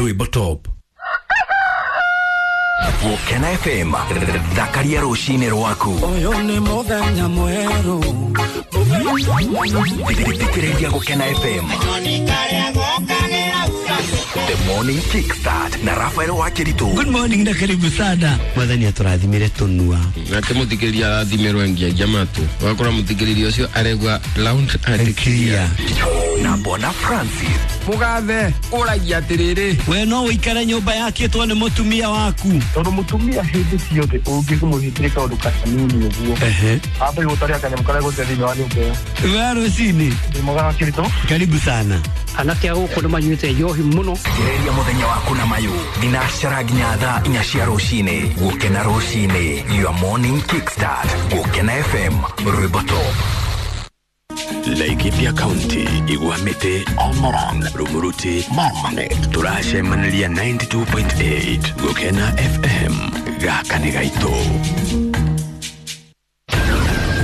Rwimbo Top. Gũkena FM, thakaria rũcinĩ rwaku. Ũyũ nĩ mũthenya mwerũ. Thikĩrĩria Gũkena FM. The Morning Kickstart na Rafael Wakiritu. Good morning na karibu sana. Mwathani atũrathimire tũnua. Nake mũthikĩrĩria arathimirwo ngiagia matũ, ũgakora mũthikĩrĩria ũcio aregua loud and clear. Na Bona Francis. Mũgathe ũragia atĩrĩrĩ, We no ũikare nyũmba yakĩtwo nĩ mũtumia waku. Tondũ mũtumia hĩndĩ ciothe ũngĩmũhingĩre kaũndũ kanini ũguo, ambe gũtaria kanyamũ karĩa gũte thĩinĩ wa nyũmba ĩyo. We rũcinĩ. Ndĩ mwega wa Kĩritũ. Karibu sana. Anake a gũkũ nĩ manyuĩte njohi mũno. Thikĩrĩria mũthenya waku na mayũ thinacara nginya thaa 4 cia rũcinĩ. Gũkena rũcinĩ, your morning kickstart. Gũkena FM, Rwimbo Top. Laikipia County, Igwamiti, Olmoran, Rumuruti, Marmanet. Tũracemanĩria 92.8 Gũkena FM. Gaka nĩ gaitũ.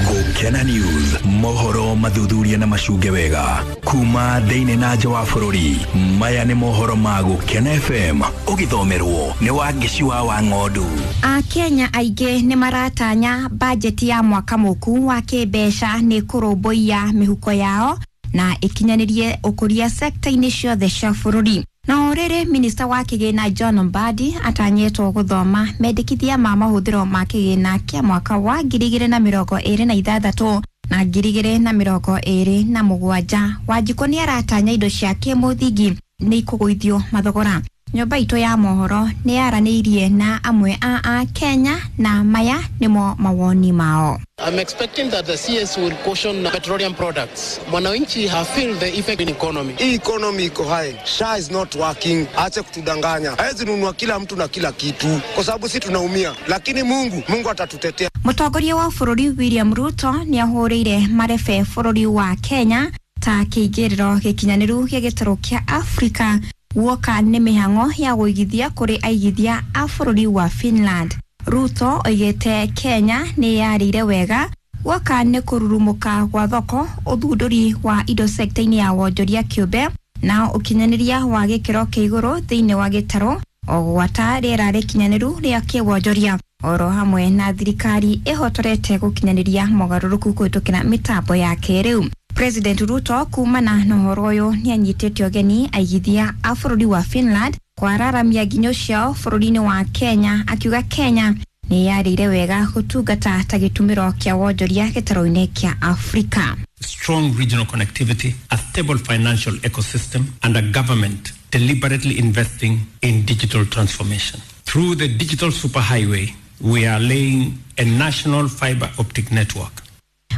Gũkena News, mohoro mathuthuria na macunge wega kuma thĩinĩ na nja wa bũrũri. Maya nĩ mohoro ma Gũkena FM, ũgĩthomerwo nĩ Wangeci wa Wang'ondu. Akenya aingĩ nĩ maratanya bajeti ya mwaka mũku wa kĩmbeca nĩ kũrũmbũiya mĩhuko yao na ĩkinyanĩrie ũkũria sekta-inĩ ciothe cia bũrũri. Na o rĩrĩ, minista wa kĩgĩna John Mbadi atanyĩtwo gũthoma mendekithia ma mahũthĩro ma kĩgĩna kĩa mwaka wa 2026 na 2027. Wanjikũ nĩ aratanya indo cia kĩmũthingi nĩ ikũgũithio mathogora. Nyũmba itũ ya mohoro nĩ yaranĩirie na amwe a Akenya na maya nĩmo mawoni mao. I'm expecting that the CS will caution petroleum products. Mwananchi have feel the effect in economy. Hii economy iko high. SHA is not working. Ache kutudanganya. Hawezi nunua kila mtu na kila kitu, kwa sababu si tunaumia, lakini Mungu atatutetea. Mũtongoria wa bũrũri William Ruto nĩ ahũrĩire marebe bũrũri wa Kenya ta kĩingĩrĩro gĩkinyanĩru gĩa gĩtarũ kĩa Afrika guoka nĩ mĩhang'o ya gũigithia kũrĩ aigithia a bũrũri wa Finland. Ruto oigĩte Kenya nĩ yarĩire wega guoka nĩ kũrurumũka gwa thoko, ũthundũri wa indo sekta-inĩ ya wonjoria kĩũmbe na ũkinyanĩria wa gĩkĩro kĩa igũrũ thĩinĩ wa gĩtarũ, o gwata rĩera rĩkinyanĩru rĩa kĩwonjoria, oro hamwe na thirikari ĩhotorete gũkinyanĩria mogarũrũku kũhĩtũkĩra mĩtambo ya kĩrĩu. President Ruto kumana na ũhoro ũyũ nĩ anyitĩte ũgeni aigithia a bũrũri wa Finland kwararamia nginyo ciao bũrũri-inĩ wa Kenya, akiuga Kenya nĩ yarĩire wega gũtungata ta gĩtumĩro kĩa wonjoria gĩtarũ-inĩ kĩa Afrika. Strong regional connectivity, a stable financial ecosystem, and a government deliberately investing in digital transformation. Through the digital superhighway, we are laying a national fiber optic network.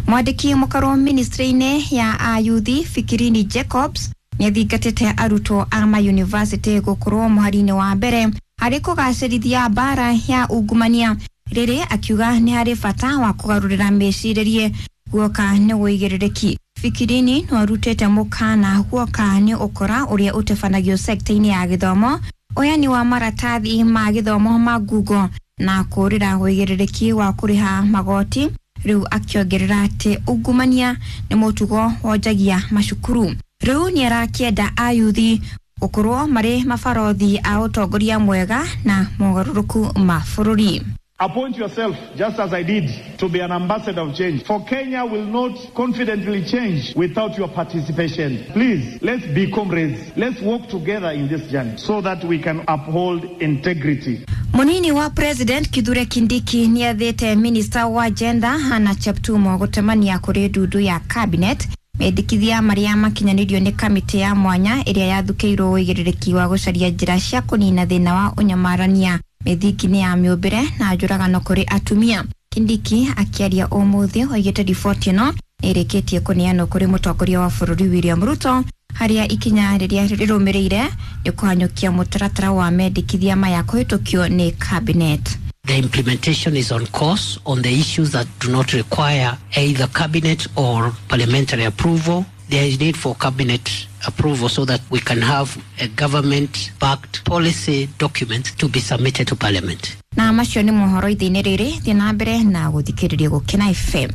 Mwandĩki mũkarwo ministry-inĩ ya ayuthi Fikirini Jacobs nĩ athingatĩte arutwo a mayunivasĩtĩ gũkorwo mũhari-inĩ wa mbere harĩ kũgacĩrithia mbara ya ungumania, rĩrĩ akiuga nĩ harĩ bata wa kũgarũrĩra mĩcirĩrie guoka nĩ ũigĩrĩrĩki. Fikirini no arutĩte mũkana guoka nĩ ũkora ũrĩa ũtabanagio sekta-inĩ ya gĩthomo, ũheani wa maratathi ma gĩthomo ma Google na kũrĩra ũigĩrĩrĩki wa kũrĩha magoti, rĩu akĩongerera atĩ ungumania nĩ mũtugo wonjagia macukuru. Rĩu nĩ arakĩenda ayuthi gũkorwo marĩ mabarothi a ũtongoria mwega na mogarũrũku ma bũrũri. Appoint yourself, just as I did, to be an ambassador of change. For Kenya will not confidently change without your participation. Please, let's be comrades. Let's work together in this journey so that we can uphold integrity. Munini wa President Kithure Kindiki nĩ athĩte minista wa gender Hannah Cheptumo gũtemania kũrĩ ndundu ya cabinet mendekithia marĩa makinyanĩirio nĩ kamĩtĩ ya mwanya ĩrĩa yathukĩirwo ũigĩrĩrĩki wa gũcaria njĩra cia kũnina thĩna wa ũnyamarania mĩthingi-inĩ ya mĩũmbĩre na njũragano kũrĩ atumia. Kindiki akĩaria ũmũthĩ oigĩte riboti ĩno nĩ ĩrĩkĩtie kũneanwo kũrĩ mũtongoria wa bũrũri William Ruto, harĩa ikinya rĩrĩa rĩrũmĩrĩire nĩ kũhanyũkia mũtaratara wa mendekithia maya kũhĩtũkio nĩ cabinet. The implementation is on course on the issues that do not require either cabinet or parliamentary approval. There is need for cabinet approval so that we can have a government-backed policy document to be submitted to parliament. Na macio nĩ mohoro ithe-inĩ rĩrĩ, thiĩ na mbere na gũthikĩrĩria Gũkena FM.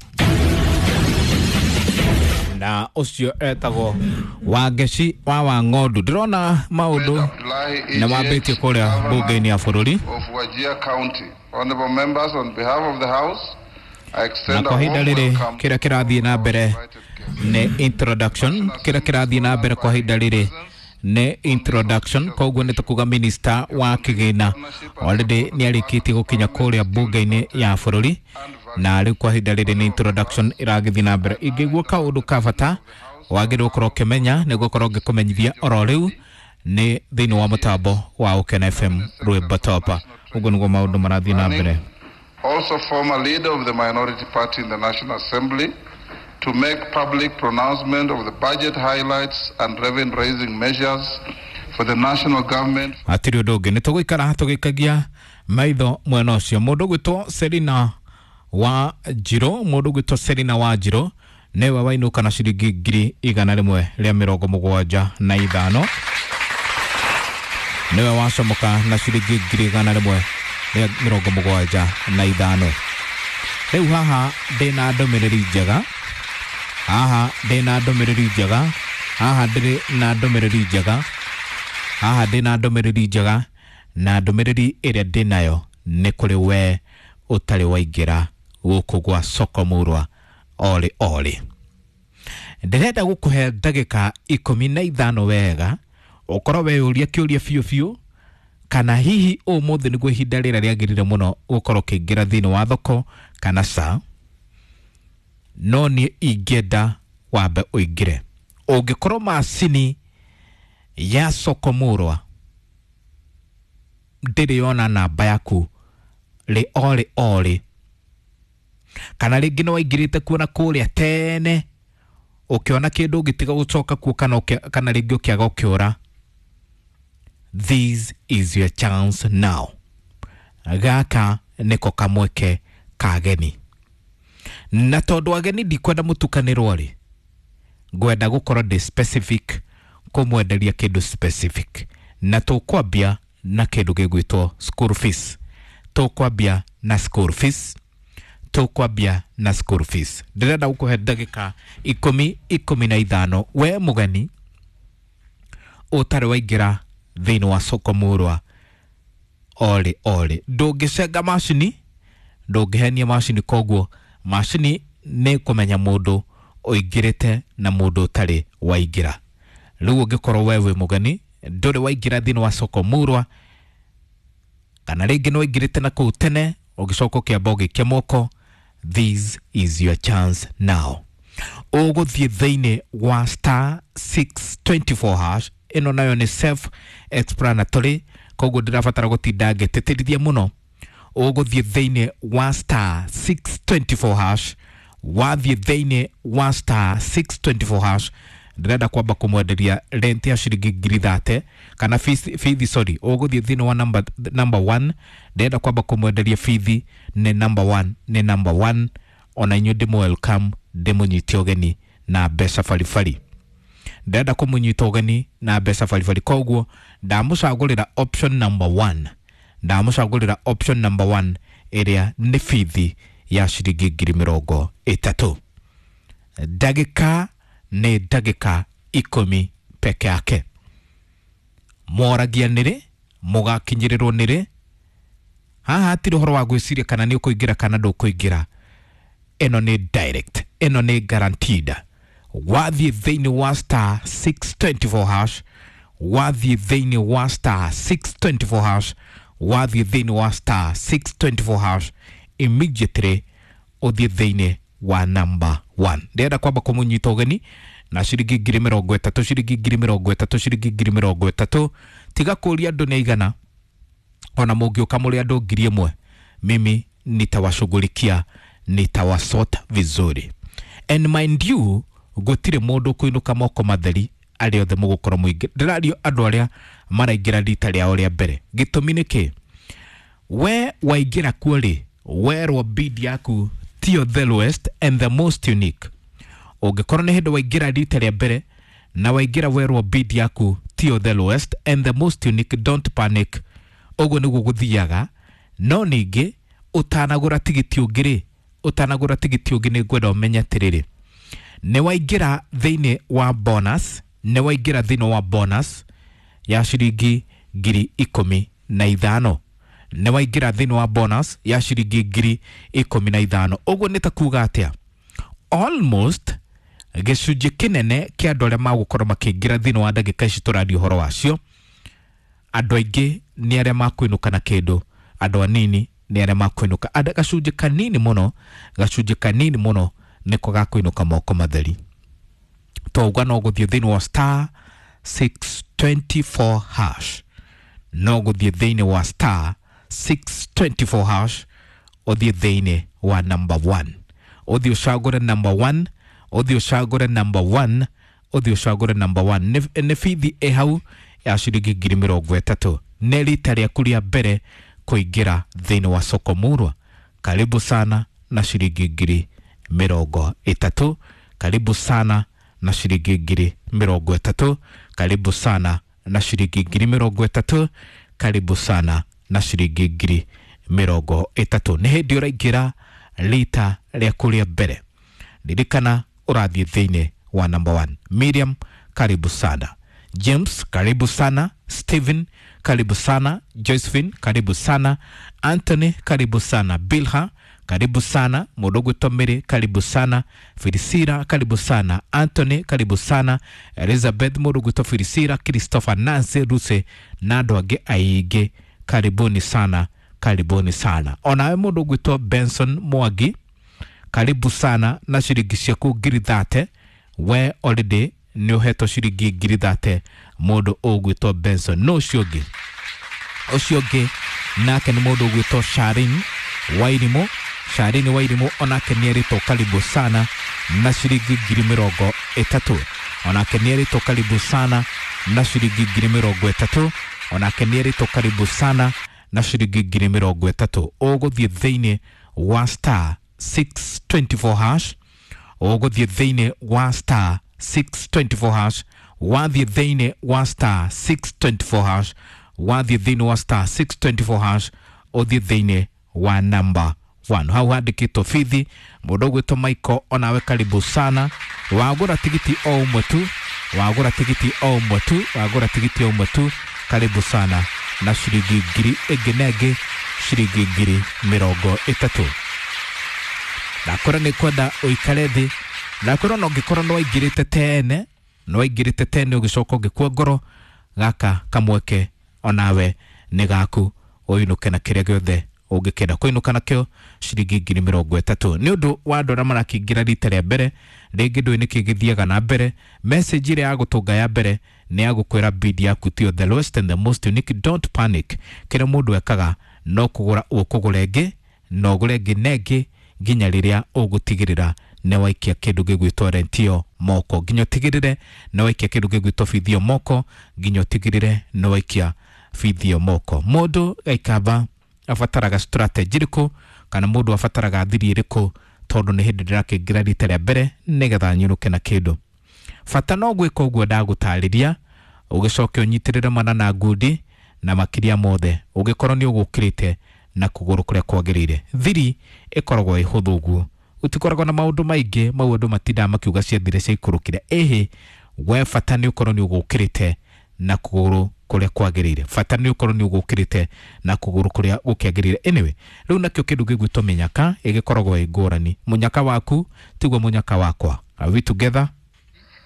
Na ũcio etagwo Wangeci wa Wang'ondu. Ndĩrona maũndũ nĩ mambĩtie kũrĩa mbunge-inĩ ya bũrũri. Of Wajir County. Honorable members, on behalf of the House, I Na extend a kwa ihinda warm rĩrĩ welcome kĩrĩa kĩrathiĩ na mbere nĩ introduction. Kĩrĩa kĩrathiĩ na mbere kwa ihinda rĩrĩ nĩ introduction, koguo nĩ tũkuga minister wa kĩgĩna already nĩ arĩkĩtie gũkinya kũrĩa mbunge-inĩ ya bũrũri, na rĩu kwa ihinda rĩrĩ nĩ introduction ĩragĩthiĩ na mbere. Ingĩigua kaũndũ ka bata wagĩrĩirwo gũkorwo ũkĩmenya nĩ gũkorwo ngĩkũmenyithia oro rĩu nĩ thĩinĩ wa mũtambo wa Ũkena FM rwĩmbo topa. Ũguo nĩguo maũndũ marathiĩ na mbere. Also former leader of the minority party in the National Assembly, to make public pronouncement of the budget highlights and revenue-raising measures for the national government. Hatirĩ ũndũ ũngĩ, nĩ tũgũikara tũgĩkagia maitho mwena ũcio. Mũndũ ũgwĩtwo Selina wa Njirũ, mũndũ ũgwĩtwo Selina wa Njirũ nĩwe wainũka na ciringi 175,175, nĩwe wacomoka na ciringi 175,175. Rĩu haha ndĩna ndũmĩrĩri njega, haha ndĩna ndũmĩrĩri njega, haha ndĩrĩ na ndũmĩrĩri njega, haha ndĩna ndũmĩrĩri njega, na ndũmĩrĩri ĩrĩa ndĩnayo nĩ kũrĩ we ũtarĩ waingĩra gũkũ gwa soko murwa orĩ orĩ. Ndĩrenda gũkũhe ndagĩka 15 wega ũkorwo weyũria kĩũria biũ biũ, kana hihi ũmũthĩ nĩguo ihinda rĩrĩa rĩagĩrĩire mũno gũkorwo ũkĩingĩra thĩinĩ wa thoko kana ca. No niĩ ingĩenda wambe ũingĩre. Ũngĩkorwo macini ya soko murwa ndĩrĩ yona namba yaku rĩ orĩ orĩ, kana rĩngĩ nĩ waingĩrĩte kuona kũrĩa tene ũkĩona kĩndũ ũgĩtiga gũcoka kuo, kana kana rĩngĩ ũkĩaga ũkĩũra, this is your chance now. Gaka nĩko kamweke ka ageni, na tondũ ageni ndikwenda mũtukanĩrwo rĩ, ngwenda gũkorwo ndĩ specific kũmwenderia kĩndũ specific, na tũkwambia na kĩndũ gĩgwĩtwo school fees. Tũkwambia na school fees, tũkwambia na school fees. Ndĩrenda gũkũhe ndagĩka 15 we mũgeni ũtarĩ waingĩra thĩinĩ wa soko murwa orĩ orĩ. Ndũngĩcenga macini, ndũngĩhenia macini, koguo macini nĩ kũmenya mũndũ ũingĩrĩte na mũndũ ũtarĩ waingĩra. Rĩu ũngĩkorwo we wĩ mũgeni ndũrĩ waingĩra thĩinĩ wa soko murwa, kana rĩngĩ nĩ waingĩrĩte na kũu tene ũgĩcoka ũkĩamba ũgĩikia moko, this is your chance now. Ũgũthiĩ thĩinĩ wa star 624 hash. Ĩno nayo nĩ self explanatory, koguo ndĩrabatara gũtinda ngĩtĩtĩrithia mũno. Ũgũthiĩ thĩinĩ wa star 624 hash, wathiĩ thĩinĩ wa star 624 hash, ndĩrenda kwamba kũmwenderia rent ya ciringi 30,000 kana fithi, sorry, ũgũthiĩ thĩinĩ wa number 1, ndĩrenda kwamba kũmwenderia fithi nĩ number 1, nĩ number 1. Ona inyuĩ ndĩmũ welcome, ndĩmũnyite ũgeni na mbeca baribari. Ndĩrenda kũmũnyita ũgeni na mbeca baribari, koguo ndamũcagũrĩra option number 1, ndamũcagũrĩra option number 1 ĩrĩa nĩ bithi ya ciringi 30,000. Ndagĩka nĩ ndagĩka 10 peke yake. Mworagia nĩrĩ, mũgakinyĩrĩrwo nĩrĩ. Haha hatirĩ ũhoro wa gwĩciria kana nĩ ũkũingĩra kana ndũkũingĩra. Ĩno nĩ direct, ĩno nĩ guaranteed. Wathiĩ thĩinĩ wa star 624 hash, wathiĩ thĩinĩ wa star 624 hash, wathiĩ thĩinĩ wa star 624 hash, immediately ũthiĩ thĩinĩ wa number 1. Ndĩrenda kwamba kũmũnyita ũgeni na ciringi 30,000, ciringi 30,000, ciringi 30,000. Tiga kũũria andũ nĩ aigana, ona mũngĩũka mũrĩ andũ 1,000, mimi nitawashughulikia, nitawasort vizuri. And mind you, gũtirĩ mũndũ ũkũinũka moko matheri arĩa othe mũgũkorwo mũingĩ. Ndĩrario andũ arĩa maraingĩra rita rĩao rĩa mbere. Gĩtũmi nĩ kĩ? We waingĩra kuo rĩ, werwo bid yaku tiyo the lowest and the most unique. Ũngĩkorwo nĩ hĩndĩ waingĩra rita rĩa mbere na waingĩra werwo bid yaku tiyo the lowest and the most unique, don't panic. Ũguo nĩguo gũthiaga. No ningĩ ũtanagũra tigiti ũngĩ rĩ, ũtanagũra tigiti ũngĩ nĩ ngwenda ũmenye atĩrĩrĩ, Nĩ waingĩra thĩinĩ wa bonus, nĩ waingĩra thĩinĩ wa bonus ya ciringi 15,000. Nĩ waingĩra thĩinĩ wa bonus ya ciringi 15,000. Ũguo nĩ ta kuga atĩa? Almost gĩcunjĩ kĩnene kĩa andũ arĩa magũkorwo makĩingĩra thĩinĩ wa ndagĩka ici tũraria ũhoro wacio, andũ aingĩ nĩ arĩa makwĩnũka na kĩndũ, andũ anini nĩ arĩa makwĩnũka. Gacunjĩ kanini mũno, gacunjĩ kanini mũno nĩko gakwĩnũka moko matheri. Twauga no gũthiĩ thĩinĩ wa star 624 hash, no gũthiĩ thĩinĩ wa star 624 hash, ũthiĩ thĩinĩ wa number 1, ũthiĩ ũcagũre number 1, ũthiĩ ũcagũre number 1, ũthiĩ ũcagũre number 1. Nĩ bithi ĩ hau ya ciringi 30,000. Nĩ rita rĩaku rĩa mbere kũingĩra thĩinĩ wa soko murwa, karibu sana na ciringi 30,000. Karibu sana na ciringi 30,000. Karibu sana na ciringi 30,000. Karibu sana na ciringi 30,000. Nĩ hĩndĩ ũraingĩra rita rĩaku rĩa mbere, ririkana ũrathiĩ thĩinĩ wa number 1. Miriam, karibu sana. James, karibu sana. Steven, karibu sana. Josephine, karibu sana. Anthony, karibu sana. Bilha, karibu sana. Mũndũ ũgwĩtwo Mary, karibu sana. Filisira, karibu sana. Anthony, karibu sana. Elizabeth, mũndũ ũgwĩtwo Filisira, Christopher, Nancy, Ruse na andũ angĩ aingĩ, karibuni sana, karibuni sana. Onawe mũndũ ũgwĩtwo Benson Mwangi, karibu sana na ciringi ciaku 30,000. We already nĩ ũhetwo ciringi 30,000 mũndũ ũgwĩtwo Benson. No ũcio ũngĩ, ũcio ũngĩ nake nĩ mũndũ ũgwĩtwo Sharin Wairimu. Sharin Wairimu onake nĩ erĩtwo karibu sana na ciringi 30,000. Onake nĩ erĩtwo karibu sana na ciringi 30,000. Onake nĩ erĩtwo karibu sana na ciringi 30,000. Ũgũthiĩ thĩinĩ wa star 624 hash, ũgũthiĩ thĩinĩ wa star 624 hash, wathiĩ thĩinĩ wa star 624 hash, wathiĩ thĩinĩ wa star 624 hash, ũthiĩ thĩinĩ wa number 1. Hau handĩkĩtwo bithi. Mũndũ ũgwĩtwo Michael, onawe karibu sana. Wagũra tigiti o ũmwe tu, wagũra tigiti o ũmwe tu, wagũra tigiti o ũmwe tu, karibu sana na ciringi 1,000 na ĩngĩ ciringi 30,000. Ndakwĩra nĩ kwenda ũikare thĩ, ndakwĩra ona ũngĩkorwo nĩ waingĩrĩte tene, nĩ waingĩrĩte tene ũgĩcoka ũgĩkua ngoro, gaka kamweke onawe nĩ gaku ũinũke na kĩrĩa gĩothe ũngĩkenda kũinũka nakĩo ciringi 30,000. Nĩ ũndũ wa andũ arĩa marakĩingĩra rita rĩa mbere, rĩngĩ ndũĩ nĩkĩ gĩthiaga na mbere, message ĩrĩa ya gũtũnga ya mbere nĩ ya gũkwĩra bid yaku tiyo the lowest and the most unique. Don't panic. Kĩrĩa mũndũ ekaga no kũgũra ũkũgũra ĩngĩ, no ũgũre ĩngĩ na ĩngĩ nginya rĩrĩa ũgũtigĩrĩra nĩ waikia kĩndũ gĩgwĩtwo rentio moko, nginya ũtigĩrĩre nĩ waikia kĩndũ gĩgwĩtwo bithio moko, nginya ũtigĩrĩre nĩ waikia bithio moko. Mũndũ gaikamba abataraga strategy ĩrĩkũ, kana mũndũ abataraga thiri ĩrĩkũ, tondũ nĩ hĩndĩ ndĩrakĩingĩra rita rĩa mbere nĩgetha nyũrũke na kĩndũ. Bata no gwĩka ũguo ndagũtarĩria, ũgĩcoke ũnyitĩrĩre mana na ngundi, na makĩria mothe ũngĩkorwo nĩ ũgũkĩrĩte na kũgũrũ kũrĩa kwagĩrĩire. Thiri ĩkoragwo ĩ hũthũ ũguo, gũtikoragwo na maũndũ maingĩ, mau andũ matindaga makiuga ciathire ciaikũrũkire. Ĩhĩ, we bata nĩ ũkorwo nĩ ũgũkĩrĩte na kũgũrũ kũrĩa kwagĩrĩire, bata nĩ ũkorwo nĩ ũgũkĩrĩte na kũgũrũ kũrĩa gũkĩagĩrĩire. Anyway, rĩu nakĩo kĩndũ gĩgwĩtwo mĩnyaka ĩgĩkoragwo ĩ ngũrani. Mũnyaka waku tiguo mũnyaka wakwa. Are we together?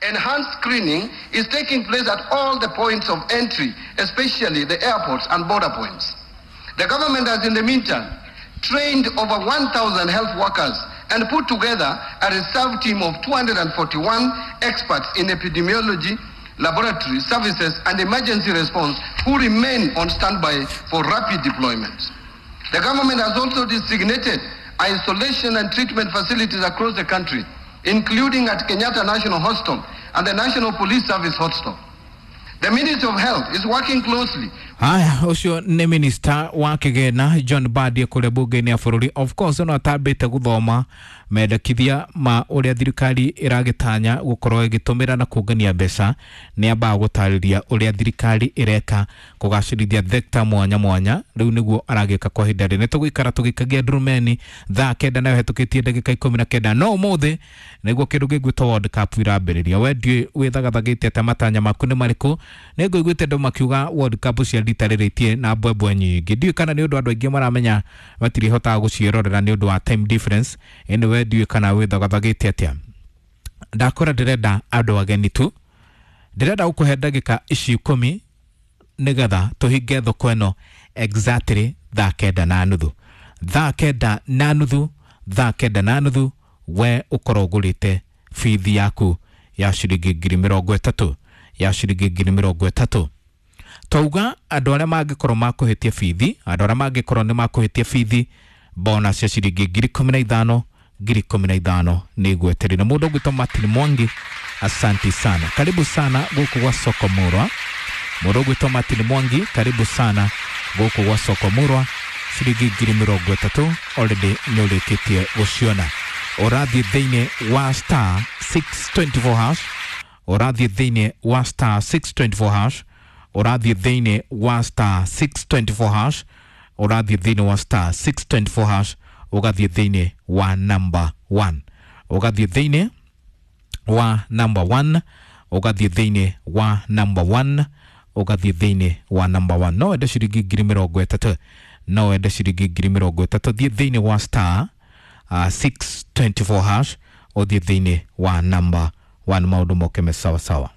Enhanced screening is taking place at all the points of entry, especially the airports and border points. The government has, in the meantime, trained over 1,000 health workers and put together a reserve team of 241 experts in epidemiology, laboratory services, and emergency response who remain on standby for rapid deployment. The government has also designated isolation and treatment facilities across the country, including at Kenyatta National Hospital and the National Police Service Hospital. The Ministry of Health is working closely Haya, ũcio nĩ minista wa kĩgĩna John Mbadi kũrĩa bunge-inĩ ya bũrũri. Of course no atambĩte gũthoma mendekithia ma ũrĩa thirikari ĩragĩtanya gũkorwo ĩgĩtũmĩra na kũngania mbeca. Nĩ ambaga gũtarĩria ũrĩa thirikari ĩreka kũgacĩrithia thekta mwanya mwanya. Rĩu nĩguo aragĩka kwa ihinda rĩrĩ. Nĩtũgũikara tũgĩikagia ndurumeni thaa 9 nayo hetũkĩtie ndagĩka 19. No ũmũthĩ nĩguo kĩndũ gĩgwĩtwo World Cup irambĩrĩria. We ndiũĩ wĩthagathagĩte atĩa, matanya maku nĩ marĩkũ? Nĩ ngũiguĩte andũ makiuga World Cup cia rita rĩrĩ itirĩ na mbwembwe nyingĩ. Ndiũĩ kana nĩ ũndũ andũ aingĩ maramenya matirĩhotaga gũciĩrorera nĩ ũndũ wa time difference. Ĩndĩ we ndiũĩ kana wĩthagathagĩte atĩa. Ndakora ndĩrenda andũ ageni tu, ndĩrenda gũkũhe ndagĩka ici 10 nĩgetha tũhinge thoko ĩno exactly thaa 9:30. Thaa 9:30, thaa 9:30 we ũkorwo ũgũrĩte bithi yaku ya ciringi 30,000, ya ciringi 30,000. Twauga andũ arĩa mangĩkorwo makũhĩtia bithi, andũ arĩa mangĩkorwo nĩ makũhĩtia bithi bonus ya ciringi 15,000, 15,000 nĩ ngweterire. Mũndũ ũgwĩtwo Martin Mwangi, asanti sana, karibu sana gũkũ gwa Soko Murwa. Mũndũ ũgwĩtwo Martin Mwangi, karibu sana gũkũ gwa Soko Murwa. Ciringi 30,000 already nĩ ũrĩkĩtie gũciona. Ũrathiĩ thĩinĩ wa star 624 hash, ũrathiĩ thĩinĩ wa star 624 hash, ũrathiĩ thĩinĩ wa star 624 hash, ũrathiĩ thĩinĩ wa star 624 hash, ũgathiĩ thĩinĩ wa number 1, ũgathiĩ thĩinĩ wa number 1, ũgathiĩ thĩinĩ wa number 1, ũgathiĩ thĩinĩ wa number 1. No wende ciringi 30,000, no wende ciringi 30,000. Thiĩ thĩinĩ wa star 624 hash, ũthiĩ thĩinĩ wa number 1, maũndũ moke me sawa sawa.